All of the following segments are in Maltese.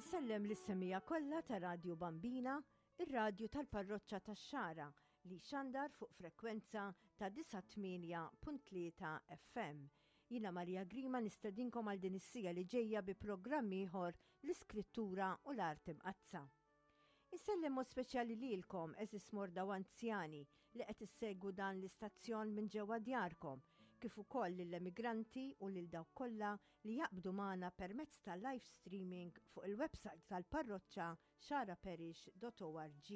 Insellem lis-semija kollha ta' Radju Bambina, ir-radju tal-Parroċċa tax-Xagħra li jxandar fuq frekwenza ta' 98.3 FM. Jiena Maria Grima nistedinkom għal din is-sija li ġejja bi programm ieħor l-Iskrittura u l-Art Imqaddsa. Insellem mod speċjali lilkom, għeżież morda u anzjani li qed issegwu dan l-istazzjon minn ġewwa djarkom, kif ukoll lill-emigranti u lil dawk kollha li jaqbdu magħna permezz ta' live streaming fuq il-website tal-parroċċa xaraparish.org.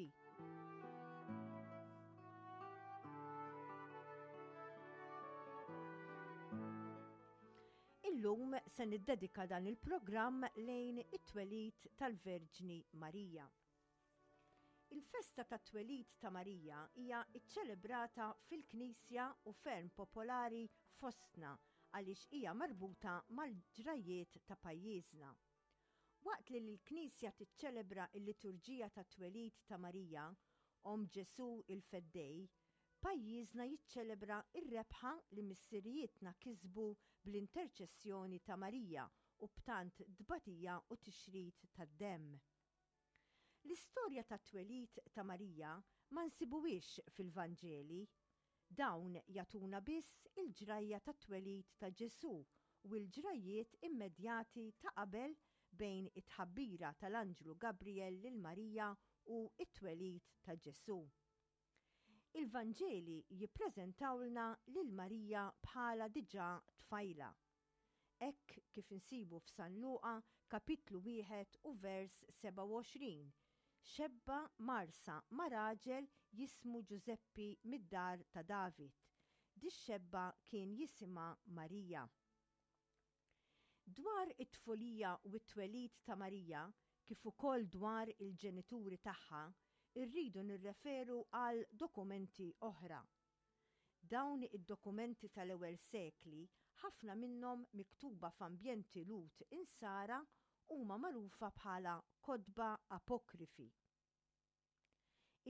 Illum se niddedika dan il-programm lejn it-twelid tal-Verġni Marija. Il-festa tat-twelid ta' Marija hija ċċelebrata fil-Knisja u ferm popolari fostna għaliex hija marbuta mal-ġrajjiet ta' pajjiżna. Waqt li l-Knisja tiċċelebra l-liturġija tat-twelid ta' Marija, Omm Ġesù il-Feddej, pajjiżna jiċċelebra r-rebħa li missirijietna kisbu bl-interċessjoni ta' Marija u b'tant tbatija u tixrid tad-demm. L-istorja tat-twelid ta' Marija ma nsibuhiex fil-Vanġeli. Dawn jagħtuna biss il-ġrajja tat-twelid ta' Ġesù u l-ġrajjiet immedjati ta' qabel bejn it-tħabbira tal-anġlu Gabrijel lil Marija u t-twelid ta' Ġesù. Il-Vanġeli jippreżentawlna lil Marija bħala diġà tfajla. Hekk kif insibu f'San Luqa kapitlu wieħed u vers 27, Xebba mgħarrsa ma' raġel jismu Ġużeppi mid-dar ta' David. Dix-xebba kien jisimha Marija. Dwar it-tfulija u t-twelid ta' Marija, kif ukoll dwar il-ġenituri tagħha, irridu nirreferu għal dokumenti oħra. Dawn id-dokumenti tal-ewwel sekli, ħafna minnhom miktuba f'ambjenti Lhud Insara, huma magħrufa bħala kotba apokrifi.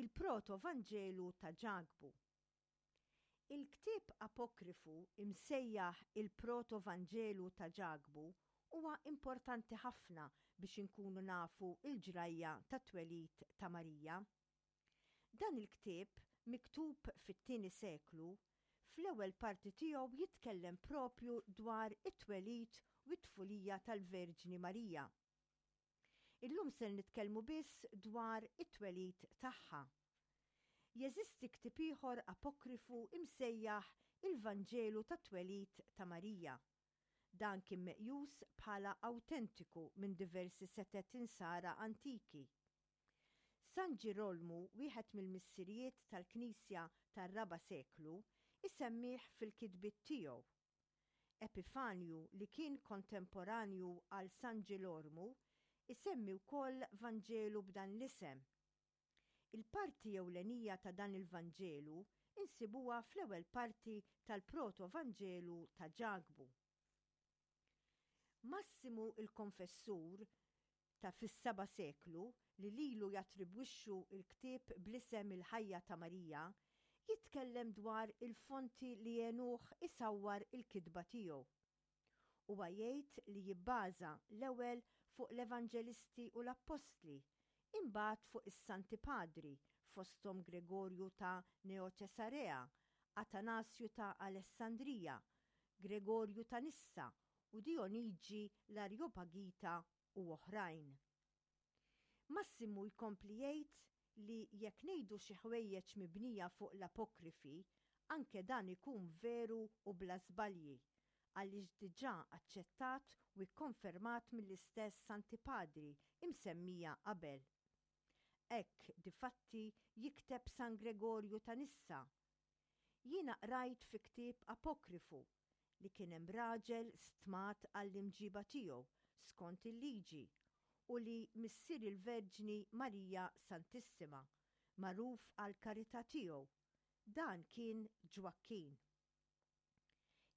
Il-Proto-Vanġelu ta' Ġakbu. Il-ktieb apokrifu imsejjaħ il-Proto-Vanġelu ta' Ġakbu huwa importanti ħafna biex inkunu nafu l-ġrajja tat-twelid ta' Marija. Dan il-ktieb, miktub fit-tieni seklu, fl-ewwel parti tiegħu jitkellem proprju dwar it-twelid u t-tfulija tal-Verġni Marija. Illum ser nitkellmu biss dwar it-twelid tagħha. Jeżisti ktieb ieħor apokrifu imsejjaħ il-Vanġelu tat-Twelid ta' Marija. Dan kien meqjus bħala awtentiku minn diversi setet Insara antiki. San Ġirolmu, wieħed mill-missirijiet tal-Knisja tar-raba' seklu, isemmih fil-kitbiet tiegħu. Epifanju li kien kontemporanju għal San Ġilormu, isemmi wkoll Vanġelu b'dan l-isem. Il-parti ewlenija ta' dan il-Vanġelu insibuha fl-ewwel parti tal-Proto-Vanġelu ta' Ġakbu. Massimu l-Konfessur ta' fis-seba' seklu, li lilu jattribwixxu l-ktieb bl-isem Il-Ħajja ta' Marija, jitkellem dwar il-fonti li għenuh isawwar il-kitba tiegħu. Huwa jgħid li jibbaża l-ewwel fuq l-Evanġelisti u l-Appostli, imbagħad fuq is-Santi Padri, fosthom Gregorju ta' Neoċesarea, Atanasju ta' Alessandrija, Gregorju ta' Nissa u Dijoniġi l-Arjopagita u oħrajn. Massimu jkompli jgħid li jekk ngħidu xi ħwejjeġ mibnija fuq l-apokrifi, anke dan ikun veru u bla żbalji, għaliex diġà aċċettat u kkonfermat mill-istess Santi Padri imsemmija qabel. Hekk, difatti, jikteb San Gregorju ta' Nissa, Jiena qrajt fi ktieb apokrifu li kien hemm raġel stmat għall-imġiba tiegħu skont il-liġi u li missier il-Verġni Marija Santissima, magħruf għall-karità tiegħu, dan kien Ġwakkin.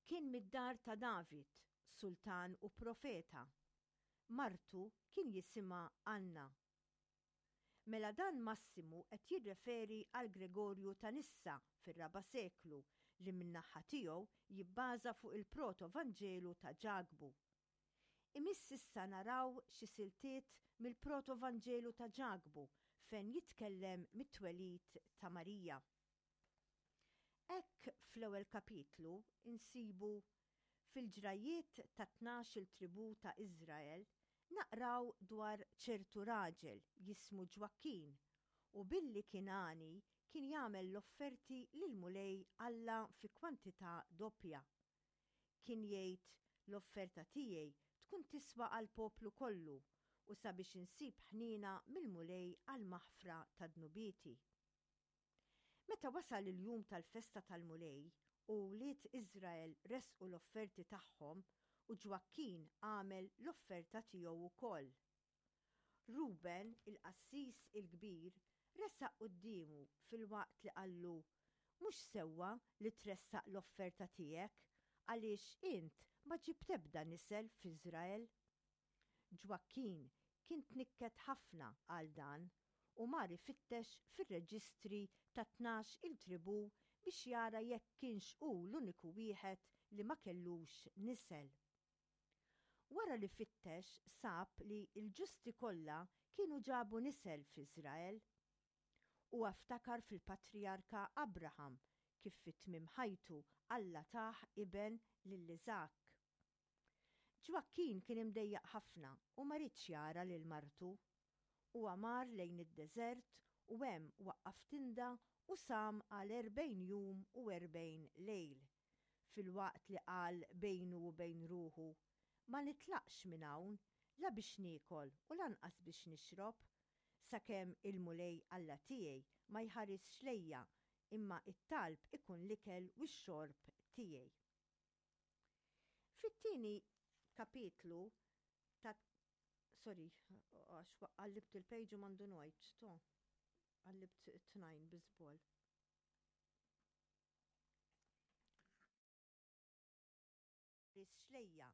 Kien mid-dar ta' David, sultan u profeta. Martu kien jisimha Anna. Mela dan Massimu qed jirreferi għal Gregorju ta' Nissa fir-raba' seklu li min-naħa tiegħu jibbaża fuq il-Proto-Vanġelu ta' Ġakbu. Imiss issa naraw xi siltiet mill-Proto-Vanġelu ta' Ġakbu fejn jitkellem mit-twelid ta' Marija. Hekk fl-ewwel kapitlu nsibu Fil-ġrajjiet tat-tnax-il tribù ta' Iżrael naqraw dwar ċertu raġel jismu Ġwakkin u billi kien għani kien jagħmel l-offerti lill-Mulej Alla fi kwantità doppja. Kien jgħid, L-offerta tiegħi tkun tiswa għall-poplu kollu u sabiex insib ħniena mill-Mulej għall-maħfra ta' dnubieti. Meta wasal il-jum tal-festa tal-Mulej u wlied Iżrael ressqu l-offerti tagħhom u Ġwakkin għamel l-offerta tiegħu wkoll. Ruben, il-qassis il-kbir, resaq quddiemu filwaqt li qallu, Mhux sewwa li tressaq l-offerta tiegħek, għaliex int ma ġibt ebda nisel f'Iżrael. Ġwakkin kien tnikket ħafna għal dan u mar ifittex fir-reġistri tat-tnax-il tribù biex jara jekk kienx hu l-uniku wieħed li ma kellux nisel. Wara li fittex sab li l-ġusti kollha kienu ġabu nisel f'Iżrael. Huwa ftakar fil-patrijarka Abraham kif fi tmiem ħajtu Alla tah iben lil Iżakk. Ġwakkin kien imdejjaq ħafna u ma riedx jara lil martu. Huwa mar lejn id-deżert u hemm waqqaf tinda u sam għal 40 jum u 40 lejl. filwaqt li qal bejnu u bejn ruħu, Ma nitlaqx minn hawn, la biex niekol u lanqas biex nixrob, sakemm il-Mulej Alla tiegħi ma jħarisx lejja, imma t-talb ikun l-ikel u x-xorb tiegħi. Fit-tieni kapitlu ta' Sorry, għax qallibt il-page u m'għandu ngħid, to. Qallibt it-tnajn bi żball. Ħarisx lejja,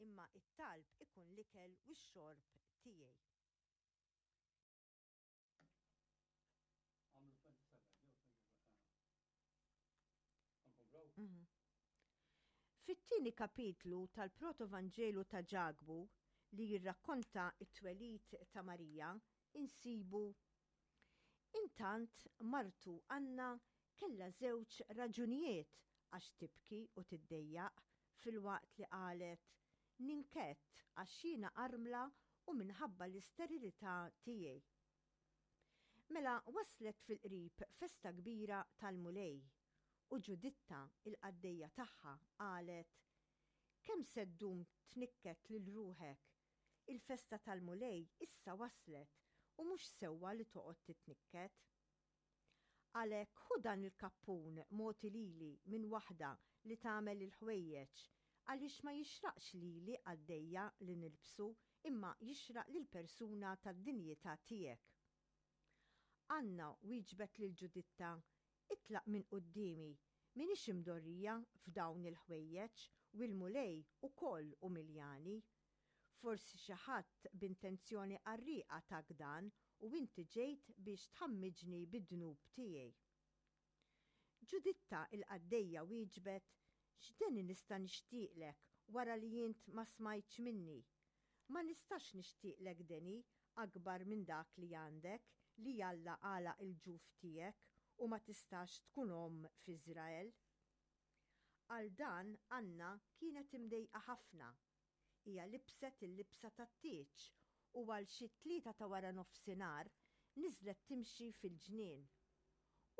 imma t-talb ikun l-ikel u x-xorb tiegħi. Għamlu 27 jew 27. Fit-tieni kapitlu tal-Protovanġelu ta' Ġakbu li jirrakkonta t-twelid ta' Marija, insibu Intant martu Anna kellha żewġ raġunijiet għax tibki u tiddejjaq filwaqt li qalet, Ninkedd għax jiena armla u minħabba l-isterilità tiegħi. Mela waslet fil-qrib festa kbira tal-Mulej, u Ġuditta, il-qaddejja tagħha, qalet, Kemm se ddum tnikket lil ruħek? Il-festa tal-Mulej issa waslet u mhux sewwa li toqgħod titnikket. Għalhekk ħu dan il-kappun mogħti lili minn waħda li tagħmel il-ħwejjeġ, għaliex ma jixraqx lili qaddejja li nilbsu imma jixraq lil persuna tad-dinjità tiegħek. Anna wieġbet lil Ġuditta, Itlaq minn quddiemi, m'iniex imdorrija f'dawn il-ħwejjeġ u l-Mulej ukoll umiljani. Forsi xi ħadd b'intenzjoni qarrieqa tak dan u inti ġejt biex tħammiġni bid-dnub tiegħi. Ġuditta il-qaddejja wieġbet, X'deni nista' nixtieqlek wara li int ma smajtx minni? Ma nistax nixtieqlek deni akbar minn dak li għandek, li Alla għalaq il-ġuf tiegħek u ma tistax tkun omm f'Iżrael. Għal dan Anna kienet imdejqa ħafna. Hija libset il-libsa tat-tieġ u għal xi t-tlieta ta' wara nofsinhar niżlet timxi fil-ġnien.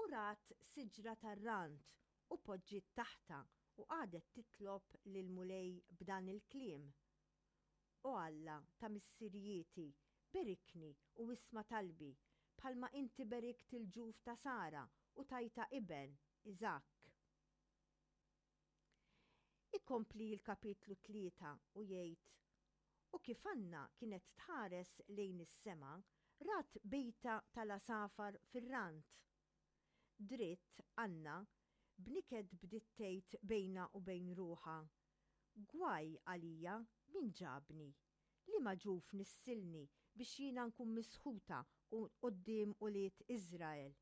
U rat siġra tar-rand u poġġiet taħtha u qagħdet titlob lill-Mulej b'dan il-kliem, O Alla ta' missirijieti, berikni u isma' talbi, bħalma inti berikt il-ġuf ta' Sara u tajtha iben, Iżakk. Ikompli l-kapitlu 3 u jgħid, U kif Anna kienet tħares lejn is-sema, rat bejta tal-għasafar fir-rand. Dritt, Anna, b'niket bdiet tgħid bejnha u bejn ruħha, Gwaj għalija, min ġabni? Liema ġuf nissilni biex jiena nkun misħuta quddiem ulied Iżrael,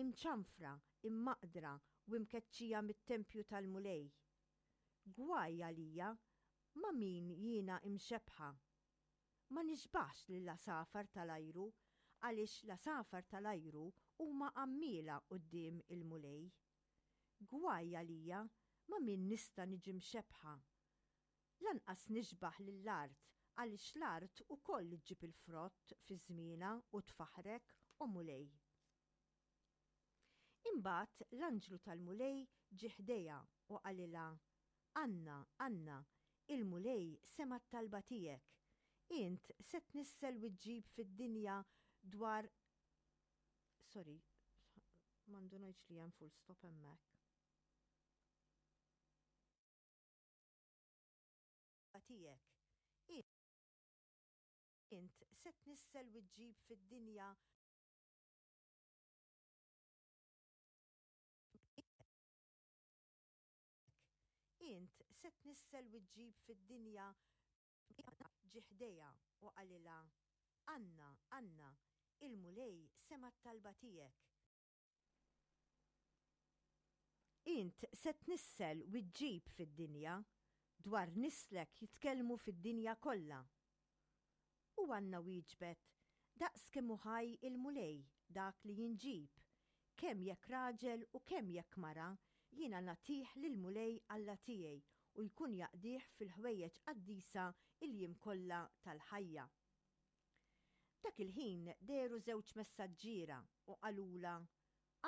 imċanfra, immaqdra u imkeċċija mit-tempju tal-Mulej? Gwaj għalija! Ma' min jiena imxebbħa? Ma nixbahx lill-għasafar tal-ajru, għaliex l-għasafar tal-ajru huma għammiela quddiem il-Mulej. Gwaj għalija, ma' min nista' niġi mxebbħa? Lanqas nixbah lill-art, għaliex l-art ukoll iġġib il-frott fi żmienha u tfaħħrek, o Mulej. Imbagħad l-anġlu tal-Mulej ġie ħdejha u qalilha, Anna, Anna, il-Mulej sema' t-talba tiegħek. Int se tnissel u ġġib fid-dinja dwar Sorry, ma ndunajtx li hemm full stop hemmhekk. Tiegħek. Int se tnissel u ġġib fid-dinja Int se tnissel u ġġib fid-dinja Ġie ħdejha u qalilha, Anna, Anna, il-Mulej sema' t-talba tiegħek. Int se tnissel u ġġib fid-dinja, dwar nislek jitkellmu fid-dinja kollha. U Anna wieġbet, Daqs kemm hu ħaj il-Mulej, dak li jien ġib, kemm jekk raġel u kemm jekk mara, jiena nagħtih lill-Mulej Alla tiegħi u jkun jaqdih fil-ħwejjeġ qaddisa l-jiem kollha tal-ħajja. Dak il-ħin dehru żewġ messaġġiera u qalulha,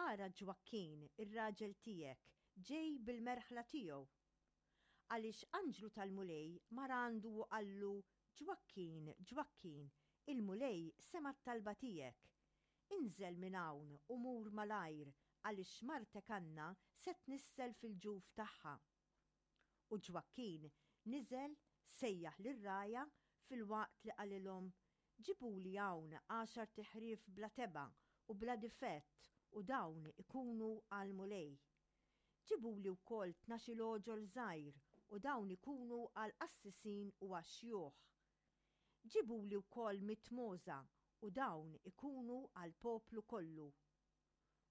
Ara Ġwakkin, ir-raġel tiegħek, ġej bil-merħla tiegħu. Għaliex anġlu tal-Mulej mar għandu u qallu, Ġwakkin, Ġwakkin, il-Mulej sema' t-talba tiegħek. Inżel minn hawn u mur malajr, għaliex martek Anna se tnissel fil-ġuf tagħha. U Ġwakkin niżel, sejjaħ lir-rgħajja, filwaqt li qalilhom, Ġibuli hawn għaxart iħrief bla tebgħa u bla difett u dawn ikunu għall-Mulej. Ġibuli wkoll 12-il għoġol żgħir u dawn ikunu għall-qassisin u għax-xjuħ. Ġibuli wkoll mitt mogħża u dawn ikunu għall-poplu kollu.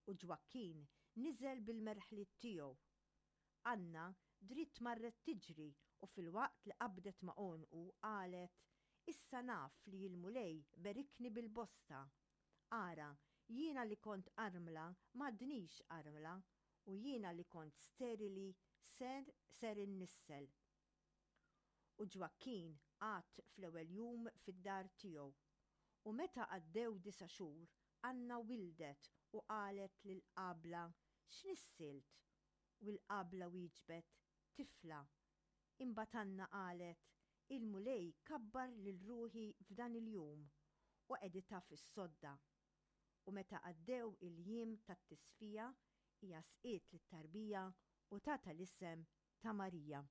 U Ġwakkin niżel bil-merħliet tiegħu. Anna dritt marret tiġri u filwaqt li qabdet ma' għonqu qalet, Issa naf li l-Mulej berikni bil-bosta. Ara, jiena li kont armla m'għadnix armla, u jiena li kont sterili ser ser innissel. U Ġwakkin qagħad fl-ewwel jum fid-dar tiegħu. U meta għaddew disa' xhur, Anna wildet u qalet lill-qabla, X'nissilt? U l-qabla wieġbet, Tifla. Imbagħad Anna qalet, Il-Mulej kabbar lil ruħi f'dan il-jum, u qegħditha fis-sodda. U meta għaddew il-jiem tat-tisfija, hija sqiet lit-tarbija u tatha l-isem ta' Marija.